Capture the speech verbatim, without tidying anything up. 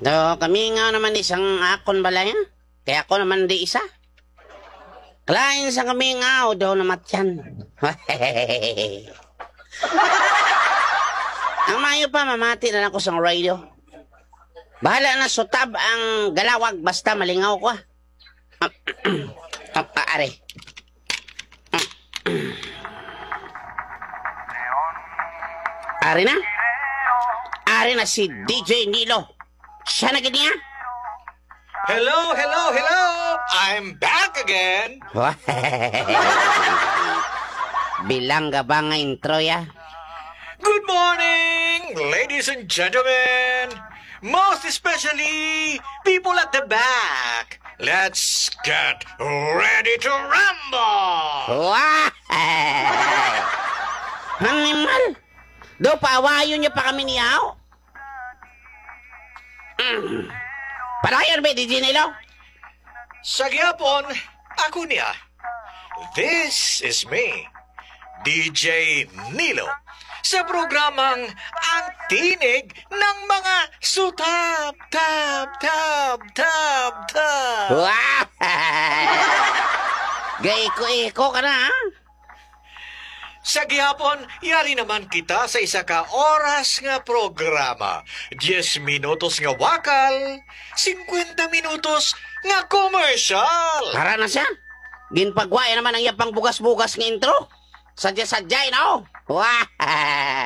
Do, kami nga naman isang akon balay, ha? Kaya ako naman di isa. Kalain sa kami nga, o daw namatyan. Ang maayo pa, mamati na lang ko sa radio. Bahala na sutab ang galawag, basta malingaw ko, ah. Ah, ah, are. Ari na? Ari na si D J Nilo. Siya na gid niya? Hello, hello, hello! I'm back again! Bilangga ba nga intro, ya? Good morning, ladies and gentlemen! Most especially, people at the back! Let's get ready to rumble! Wah! Animal! Do, paawayon niya pa kami niyaw? Mm. Padayon, be, D J Nilo. Sa gihapon, ako niya. This is me, D J Nilo, sa programang Ang Tinig ng mga Sutap, Tap, Tap, Tap, Tap. Wah! Gaiko-iko ka na, ha? Sa gihapon, yari naman kita sa isa ka oras nga programa. Diez minutos nga wakal, singkwenta minutos nga komersyal. Para na siya. Ginpagwaya naman ang iyang pangbugas-bugas nga intro. Sadya-sadyay na, oh. Wah!